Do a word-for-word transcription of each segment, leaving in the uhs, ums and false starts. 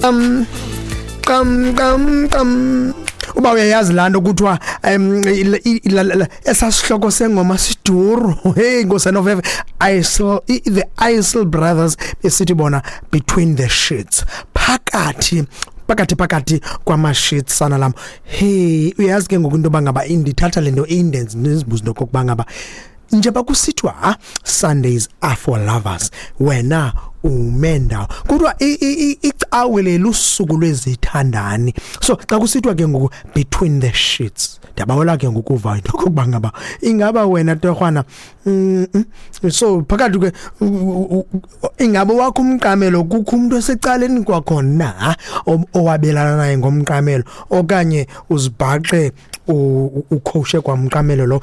Um qam qam qam uba uyayazi laa nto kuthiwa um esasihloko sengoma siduru. Hey nkosanoveve, Isley, the Isley Brothers besithi bona "Between the Sheets", phakathi phakathi phakathi kwama-sheets sana lam. Hey, uyazi ke ngoku into yoba ngaba indithatha le nto indenze ndizibuze into okokuba ngaba njengoba kusithiwa ha Sundays are for lovers, wena ume ndawo. Kodwa icawe lelusuku lwezithandani, so xa kusithiwa ke ngoku "Between the Sheets", ndiyabawela ke ngokuva into okokuba ngaba ingaba wena torhwana, mm, mm, so phakathi ke ingaba wakho umqamelo, kukho umuntu osecaleni kwakhona owabelana naye ngomqamelo, okanye uzibhaqe ukhoshe kwamqamelo lo?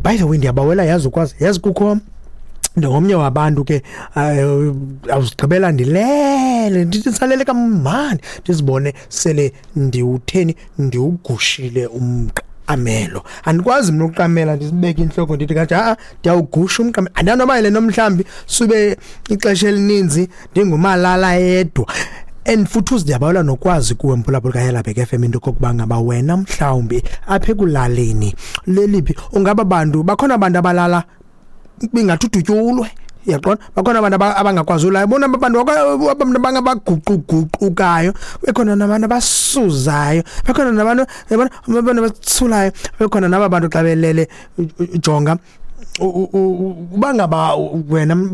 By the way, ndiyabawela yazi ukwazi, yazi kukho ndingomnye wabantu ke awuzigqibela ndilele, ndithi ndisalele kamandi, ndizibone sele ndiwutheni, ndiwugushile umqamelo. Andikwazi mna uqamela ndisibeke intloko ndithi kanje, a ndiyawugusha umqamelo. Andanoba yile nto mhlawumbi sube ixesha elininzi ndingumalala yedwa. And futhi uzidiyabawela nokwazi kuwe mphulaphula kaYelabhek F M into okokuba ngaba wena mhlawumbi apha ekulaleni leliphi ungaba bantu bakhona, abantu abalala bingathi udutyulwe, uyaqonda, bakhona abantu abangakwazi ulala, bona abantu abantu abangabaguquguqukayo, bekhona nabantu abasuzayo, bekhona nabantu, yabona, abantu abathulayo, bekhona naba bantu xa belele. Jonga, uba ngaba wena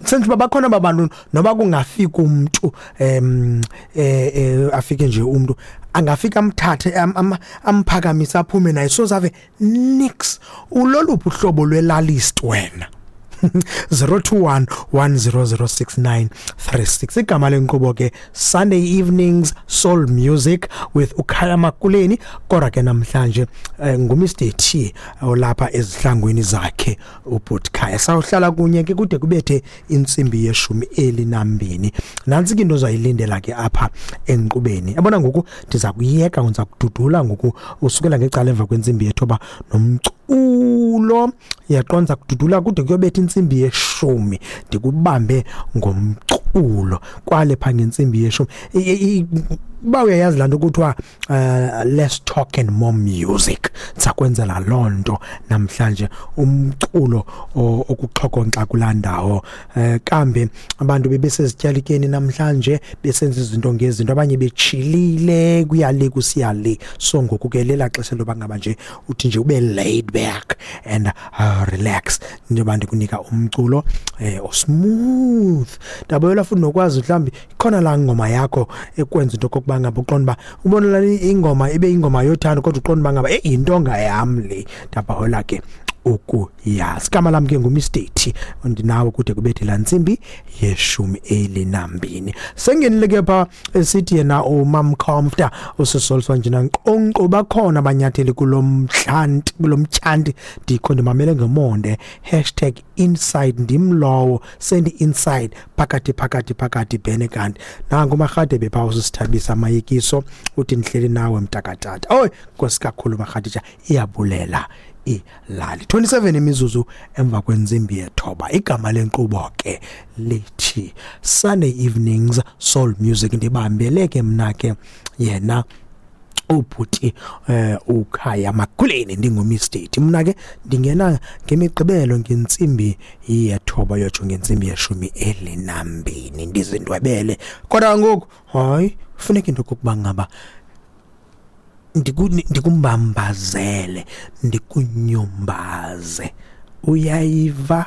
senze uba bakhona abantu noba kungafika umuntu, em eh afike nje umuntu angafika amthathe amphakamise aphume naye, sozave nix. Uloluphi uhlobo lwelalist wena? zero two one one zero zero six nine three six. Igama lenkqubo ke Sunday Evenings Soul Music with uKhaya Makuleni, kodwa ke namhlanje eh, nguMr T olapha ezihlangweni zakhe ubhuti Khaya. Sawuhlala kunye ke kude kubethe intsimbi yeshumi elinambini. Nantsi ke into ozayilindela ke apha enkqubeni. Yabona ngoku ndiza kuyeka, ndiza kududula ngoku usukela ngecala emva kwentsimbi yethoba nomculo, uyaqonda, kududula kude kuyobetha intsimbi yeshumi, ndikubambe ngomculo kwale pha ngentsimbi yeshumi. Uba uyayazi laa nto kuthiwa uh, less talk and more music, sakwenzela loo nto namhlanje, umculo okuxhokonxa kulaa ndawo. um kambe abantu bebesezityalikeni namhlanje besenza izinto ngezinto, abanye betshilile, kuyale kusiya le. So ngoku ke lela xesha loba ngaba nje uthi nje ube laid back and uh, relax njengoba ndikunika umculo eh osmooth. Ndabuyela futhi nokwazi mhlawumbi ikhona laa ngoma yakho ekwenza into okokuba ngaba uqonda uba ubona laa ingoma ibe ingoma yothando, kodwa uqonda uba ngaba eyi yintonga yam le. Ndabawela ke ukuyazi. Igama lam ke nguMr T, ndinawe kude kubethe laa ntsimbi yeshumi elinambini. Sengenile ke pha esithi yena umam Comfter usisoliswa njena nkqonkqo, bakhona abanyatheli kulo mhlanti, kulo mtyanti, ndikho ndimamele ngemonde, hashtag inside, ndim lowo sendi inside phakathi phakathi phakathi bhene. Kanti nangu uMarhadebe phaa usisithabisa amayekiso, uthi ndihleli nawe mntakatata. Oy nkosi kakhulu Marhadija, iyabulela ilali. twenty-seven imizuzu emva kwentsimbi yethoba. Igama lenkqubo ke lithi Sunday Evenings Soul Music. Ndibambele ke mna ke yena ubhuti eh uKhaya Makuleni, ndinguMr T. Mna ke ndingena ngemigqibelo ngentsimbi yethoba yotsho ngentsimbi yeshumi elinambini, ndizindwebele. Kodwa ngoku hayi, funeka into okokuba ngaba ndikumbambazele, ndikunyumbaze, uyayiva.